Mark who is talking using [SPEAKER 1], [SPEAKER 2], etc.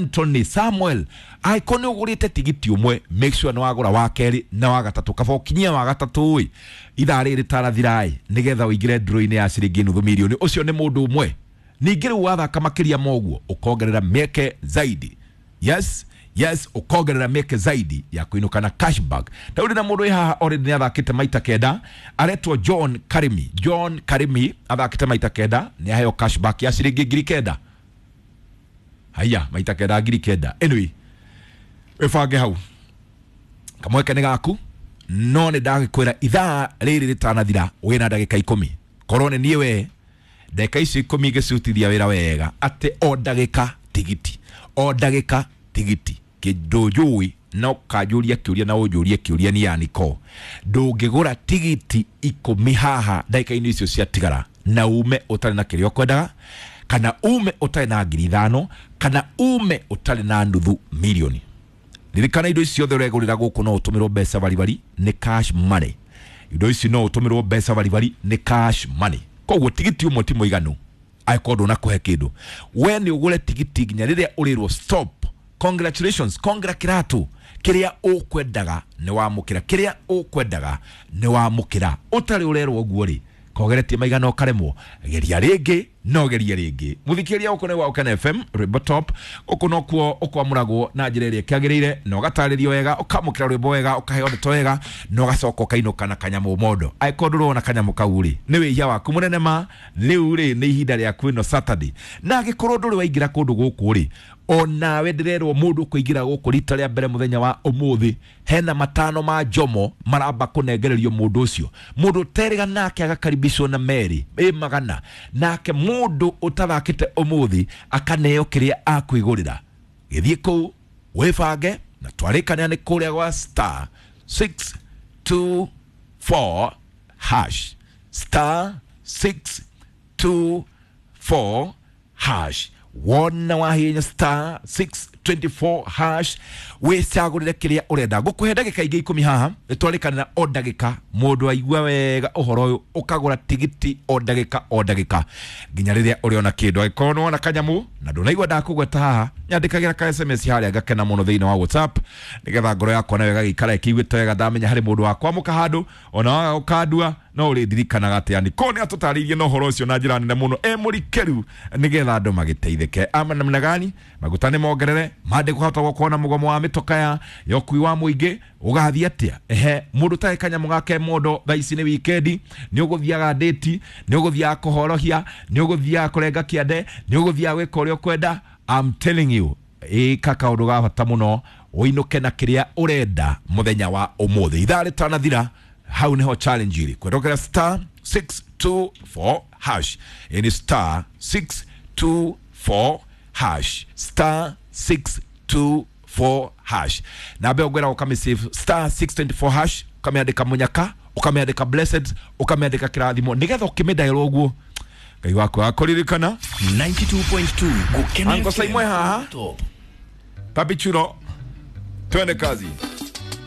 [SPEAKER 1] Anthony Samuel angĩkorwo nĩ ũgũrĩte tigiti ũmwe, make sure nĩ wagũra wa kerĩ na wa gatatũ, kaba ũkinyie wa gatatũ ĩ ithaa rĩrĩ rĩtarathira ĩ, nĩgetha ũingĩre draw-inĩ ya ciringi nuthu mirioni. Ũcio nĩ mũndũ ũmwe. Ningĩ rĩu wathaka makĩria ma ũguo ũkongerera mĩeke zaidi. Yes, yes, ũkongerera mĩeke zaidi ya kũinũka na cashback. Ta rĩu ndĩna mũndũ wĩ haha already nĩ athakĩte maita kenda, aretwo John Karimi. John Karimi athakĩte maita kenda, nĩ aheo cashback ya ciringi 9,000. Haya, maita kenda 9,000. Anyway, wĩbange hau, kamweke nĩ gaku, no nĩ ndagĩkwĩra ithaa rĩrĩ rĩtanathira wĩna ndagĩka 10. Korwo nĩ niĩ we, ndagĩka icio 10 ingĩcirutithia wĩra wega, atĩ o ndagĩka tigiti, o ndagĩka tigiti. Kĩndũ njũĩ na ũkanjũria kĩũria na ũnjũrie kĩũria ni yaniko, ndũngĩgũra tigiti 10 haha ndagĩka-inĩ icio ciatigara na ume ũtarĩ na kĩrĩa ũkwendaga, kana ume ũtarĩ na 5,000, kana ume ũtarĩ na nuthu mirioni. Ririkana indo ici ciothe ũregũrĩra gũkũ no ũtũmĩrwo mbeca baribari, nĩ cash money. Indo ici no ũtũmĩrwo mbeca baribari, nĩ cash money. Koguo tigiti ũmwe ti mũiganu angĩkorwo ndũnakũhe kĩndũ. We nĩ ũgũre tigiti nginya rĩrĩa ũrĩrwo stop. Congratulations, congra kĩratũ, kĩrĩa ũkwendaga nĩ wamũkĩra, kĩrĩa ũkwendaga nĩ wamũkĩra. Ũtarĩ ũrerwo ũguo rĩ, kogeretie maigana ũkaremwo, geria rĩngĩ, no geria rĩngĩ. Mũthikĩrĩria, gũkũ nĩ gwa Ũkena FM, rwĩmbo top. Gũkũ nokuo ũkwamũragwo na njĩra ĩrĩa ĩkĩagĩrĩire, na ũgatarĩrio wega, ũkamũkĩra rwĩmbo wega, ũkaheo ndeto wega, na ũgacoka ũkainũka na kanyamũ mondo. Angĩkorwo ndũrona kanyamũ kau rĩ, nĩ wĩhia waku mũnene ma. Rĩu rĩ, nĩ ihinda rĩaku ĩno Saturday. Na angĩkorwo ndũrĩ waingĩra kũndũ gũkũ rĩ, onawe ndĩrerwo mũndũ ũkũingĩra gũkũ rita rĩa mbere mũthenya wa ũmũthĩ, hena 5 ma njomo maramba kũnengererio mũndũ ũcio. Mũndũ ũterĩga nake agakaribishwo na merĩ ĩ magana, nake mũndũ ũtathakĩte ũmũthĩ akaneo kĩrĩa akwĩgũrĩra. Gĩthiĩ kũu wĩbange, na twarĩkanĩra nĩ kũrĩa gwa star 624 hash, star 624 hash. Wona wahinya star 624 hash, wĩcagũrĩre kĩrĩa ũrenda. Ngũkũhe ndagĩka ingĩ 10 haha, nĩtwarĩkanĩra o ndagĩka mũndũ aigua wega ũhoro ũyũ, ũkagũra tigiti o ndagĩka o ndagĩka nginya rĩrĩa ũrĩona kĩndũ. Angĩkorwo nĩwona kanyamũ na ndũnaigua ndakũgweta haha, nyandĩkagĩra ka SMS harĩa, ngakena mũno thĩinĩ wa WhatsApp, nĩgetha ngoro yakwa nayo ĩgagĩikara ĩkĩiguĩte wega, ndamenya harĩ mũndũ wa kwamũka handũ ona waga gũkandua no ũrĩndirikanaga atĩ Aniko nĩ atũtarĩirie na ũhoro ũcio na njĩra nene mũno e mũrikĩru, nĩgetha andũ magĩteithĩke. Ama namna gani? Maguta nĩ mongerere, mandĩko hota gũkorwo na mũgomo wa mĩtoka ya ũkui wa mũingĩ ũgathiĩ atĩa? Ehe, mũndũ ũtarĩ kanyamũ gake mondo, thaa ici nĩ wikendi, nĩ ũgũthiaga ndĩti, nĩ ũgũthiaga kũhorohia, nĩ ũgũthiaga kũrenga kĩande, nĩ ũgũthiaga gwĩka ũrĩa ũkwenda. I'm telling you, ĩka kaũndũ ga bata mũno, ũinũke na kĩrĩa ũrenda mũthenya wa ũmũthĩ ithaa rĩtanathira. Hau niho challenge ĩrĩ kwendokera star 624 hash. Ĩni star 624 hash, star 624 hash. Na mbeo ngwĩra ũkamĩsave star 624 hash, ũkamĩandĩka mũnyaka, ũkamĩandĩka blessed, ũkamĩandĩka kĩrathimo, nĩgetha ũkĩmĩdaĩrwo ũguo Ngai waku akũririkana.
[SPEAKER 2] 92.2 Gukena
[SPEAKER 1] Anko
[SPEAKER 2] FM.
[SPEAKER 1] Saimwe haha.
[SPEAKER 2] Top.
[SPEAKER 1] Papi Chulo, twende kazi.